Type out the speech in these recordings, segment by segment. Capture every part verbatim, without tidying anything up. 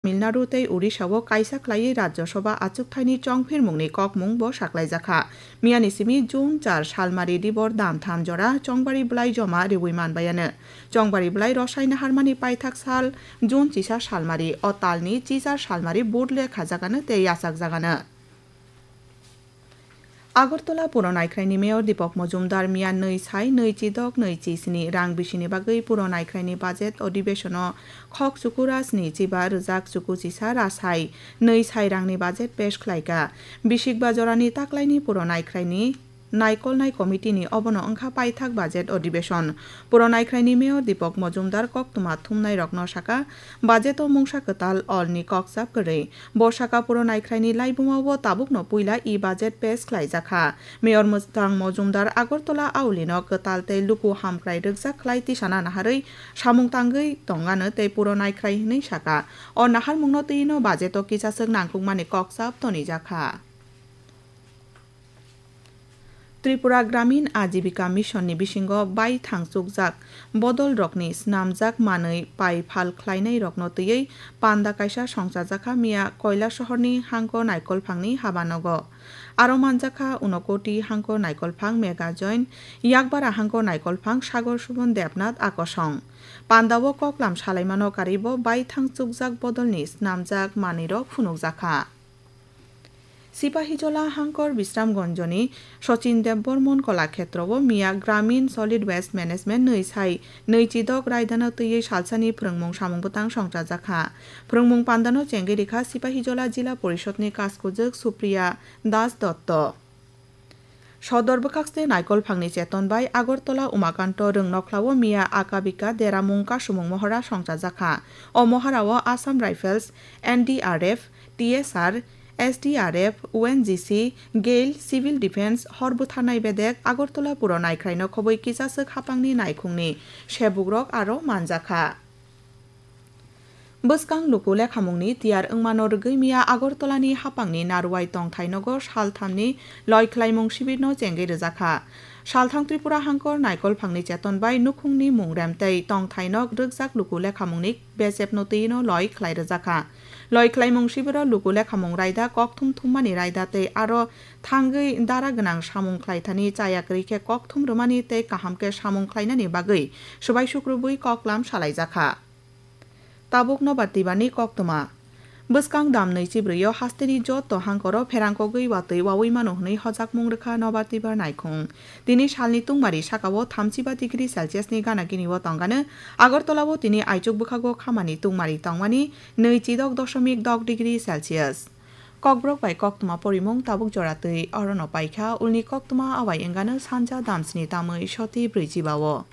Tamil Nadu tei Odisha-o kaisa khlaiwi Rajya Sabha achukthani chongphirmungni kokmung bo saklaijakha. Miyani simi June char salmari dibor damtham jora chongbari bwlai joma riwi manbayano. Chongbari bwlai rosai naharmani paithak sal June chisa salmari, o talni chichar salmari vote le khajagano tei yachakjagano. Agartala Puro Naikhraini Mayor Deepak Majumdar miya nwi sai nwi chidok nwi chisni rang bisini bagwi Puro Naikhraini budget odibeshono khok chuku rasni chiba rwjak chuku chisa rasai nwi sai rangni budget pesh khlaika. Bisikba jorani taklaini Puro Naikhraini naikolnai committee-ni obono wngkha paithak budget odibeshon. Puro Naikhraini Mayor Deepak Majumdar koktwma thumnairokno saka, budget-o mungsa kwtal olni kokchap kwrwi. Bo saka Puro Naikhraini laibuma-o tabukno puila e-budget pesh khlaijakha. Mayor Mwthang Majumdar Agartala aulino kwtal tei luku hamkrai rwkjak khlai tisana naharwi samung tangwi tongano tei Puro Naikhrai hwnwi saka. O naharmungno twi-no budget-o kisaswk nangkukmani kokchap tonijakha. Tripura Gramin Ajibika Mission ni bisingo baithang chukjak bodol rokni snamjak manwi pai phal khlainai rokno twiwi panda kaisa songchajakha miya Koilasohor ni Hangko Naikolphang ni habanogo. Aro manjakha Unokoti Hangko Naikolphang Mega Join, Yakbara Hangko Naikolphang Sagor Subon Debnath Akosong. Pandao koklam salaimano karwibo baithang chukjak bodol ni snamjak manwi rok phunukjakha. Sipahijola Hangkor Bisramganjoni Sachin Debbarman Kolakhetrobo miya Gramin Solid Waste Management nwi sai nwi chidok raidano twiwi salsani phwrwngmung samung bwtang songchajakha. Phwrwngmung pandano chengwi rikha Sipahijola Jila Porishod ni Kaskujwk Supriya Das Dotto. Sodor bwkhakste Naikolphangni cheton bai Agartala Umakanto Rwngnokhlao miya Akabika Deramung Kasumung Mohora songchajakha. O Mohorao Assam Rifles, N D R F, T S R, S D R F, O N G C, Gail, Civil Defence, hor butharnai bedek, Agartala Puro Naikhraino khobwi kisaswk hapangni naikhungni sebukrok aro manjakha. Bwskang luku lekhamungni tiyar wngmano rwgwi miya Agartalani hapangni Naruwai tongthai nogo salthamni loi khlaimung sibirno chengwi rwjakha. Salthang Tripura Hangkor Naikolphangni cheton bai nukhungni mungrem tei tongthai nok rwkjak luku lekhamungni bechepno twi-no loi khlai rwjakha. Loi khlaimung sibiro luku lekhamung raida, kokthum thummani raida tei aro thangwi dara gwnang samung khlaithani chaya kwrwi khe kokthum rwmani tei kaham khe samung khlainani bagwi swbai sukrubwi koklam salaijakha. Tabuk Nobar Twibarni koktwma. Bwskang dam nwi chibrwi-o hasteni joto hangkoro pherangkogwi watwi wawi mano hwnwi hojakmung rwkha Nobar Twibar naikhung. Tini salni tungmari sakao thamchiba degree Celsius ni gana gini-o tongano, Agartala-o tini aichuk bwkhago khamani tungmari tongmani nwi chidok doshomik dok degree Celsius. Kokborok bai koktwma porimung tabuk jora twi orono paikha, ulni koktwma awai wngano sanja damsni tamwi soti brwichiba-o.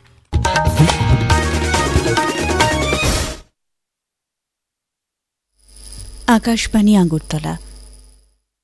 Akashbani Agartala.